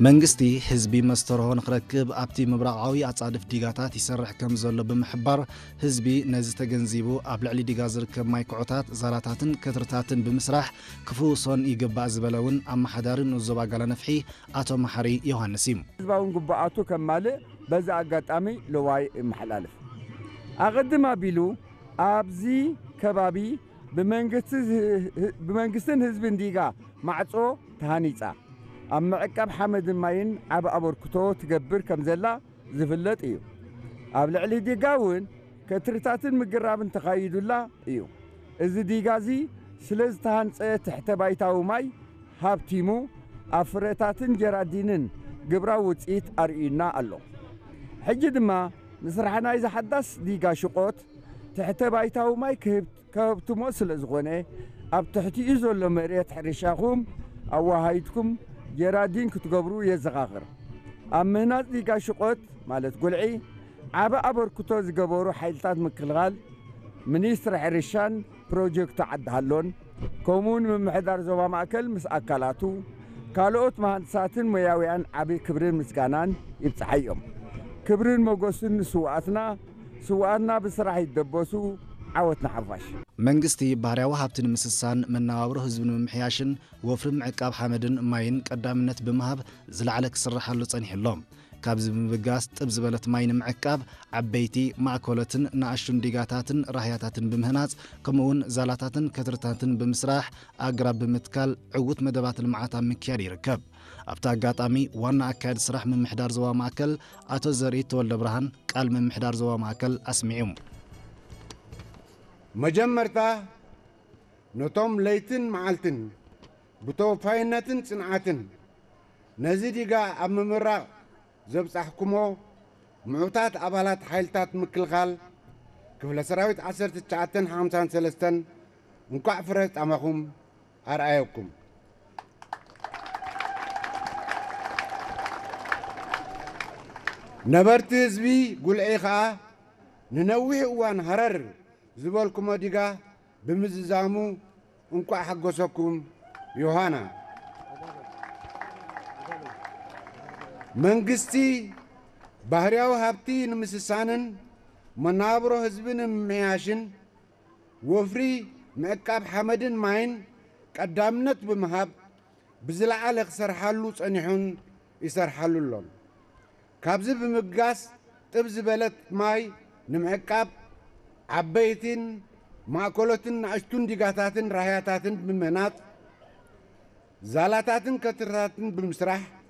መንግስቲ ህዝቢ መስተርሆ ንኽረክብ ኣብቲ ምብራቓዊ ኣጻድፍ ዲጋታት ይሰርሕ ከም ዘሎ ብምሕባር፣ ህዝቢ ነዚ ተገንዚቡ ኣብ ልዕሊ ዲጋ ዝርከብ ማይ ኩዖታት፣ ዛላታትን ከትርታትን ብምስራሕ ክፍውሶን ይግባእ ዝበለ እውን ኣመሓዳሪ ንኡስ ዞባ ጋላነፍሒ ኣቶ መሓሪ ዮሃንስ እዩ። ህዝባውን ግቡኣቱ ከማልእ በዚ ኣጋጣሚ ለዋይ ይመሓላልፍ። ኣቐድም ኣቢሉ ኣብዚ ከባቢ ብመንግስቲ ዝ-፣ ብመንግስትን ህዝብን ዲጋ ማዕጾ ተሃኒጻ ኣብ ምዕቃብ ሓመድን ማይን ዓቢ ኣበርክቶ ትገብር ከም ዘላ ዝፍለጥ እዩ። ኣብ ልዕሊ ዲጋ እውን ከትርታትን ምግራብን ተኻይዱላ እዩ። እዚ ዲጋ እዚ ስለ ዝተሃንጸ ትሕተ ባይታዊ ማይ ሃብቲሙ ኣብ ፍረታትን ጀራዲንን ግብራዊ ውጽኢት ኣርእዩና ኣሎ። ሕጂ ድማ ምስራሕ ናይዚ ሓዳስ ዲጋ ሽቖት ትሕተ ባይታዊ ማይ ክህብ-፣ ከህብትሞ ስለ ዝኾነ ኣብ ትሕቲኡ ዘሎ መሬት ሕርሻኹም ኣወሃሂድኩም ጀራዲን ክትገብሩ የዘኻኽር። ኣብ ምህናጽ ዲጋ ሽቖት ማለት ጉልዒ ዓቢ ኣበርክቶ ዝገበሩ ሓይልታት ምክልኻል፣ ሚኒስትሪ ሕርሻን ፕሮጀክቱ ዓዲ ሃሎን፣ ከምኡውን ምምሕዳር ዞባ ማእከል ምስ ኣካላቱ፣ ካልኦት መሃንድሳትን ሞያውያን ዓቢ ክብርን ምስጋናን ይብጽሓዮም። ክብርን ሞገስን ንስውኣትና፣ ስውኣትና ብስራሕ ይደበሱ፣ ዓወት ንሓፋሽ። መንግስቲ ባህርያዊ ሃብቲ ንምስሳን፣ መነባብሮ ህዝቢ ንምምሕያሽን ወፍሪ ምዕቃብ ሓመድን ማይን ቀዳምነት ብምሃብ ዝለዓለ ክስርሓሉ ጸኒሑ ኣሎ። ካብዚ ብምብጋስ ጥብ ዝበለት ማይ ንምዕቃብ ዓበይቲ፣ ማእከሎትን ንኣሽቱን ዲጋታትን ራህያታትን ብምህናጽ፣ ከምኡውን ዛላታትን ከትርታትን ብምስራሕ፣ ኣግራብ ብምትካል ዕዉት መደባት ልምዓት ኣብ ምክያድ ይርከብ። ኣብቲ ኣጋጣሚ ዋና ኣካያዲ ስራሕ ምምሕዳር ዞባ ማእከል ኣቶ ዘርኢ ተወልደ ብርሃን ቃል ምምሕዳር ዞባ ማእከል ኣስሚዑ። መጀመርታ ነቶም ለይትን መዓልትን ብተወፋይነትን ጽንዓትን ነዚ ዲጋ ኣብ ምምራቕ ዘብጻሕኩሞ ምዑታት ኣባላት ሓይልታት ምክልኻል ክፍለ ሰራዊት ዓሰርተ ትሽዓተን ሓምሳን ሰለስተን እንኳዕ ፍረ ጻማኹም ኣርኣየኩም። ነበርቲ ህዝቢ ጉልዒ ኸኣ ንነዊሕ እዋን ሃረር ዝበልኩሞ ዲጋ ብምዝዛሙ እንኳዕ ሓጎሰኩም። ዮሃና፣ መንግስቲ ባህርያዊ ሃብቲ ንምስሳንን መነባብሮ ህዝቢ ንምምሕያሽን ወፍሪ ምዕቃብ ሓመድን ማይን ቀዳምነት ብምሃብ ብዝለዓለ ክሰርሓሉ ጸኒሑን ይሰርሓሉ ኣሎን። ካብዚ ብምብጋስ ጥብ ዝበለት ማይ ንምዕቃብ ዓበይትን ማእከሎትን ንኣሽቱን ዲጋታትን ራህያታትን ብምህናጽ ዛላታትን ከትርታትን ብምስራሕ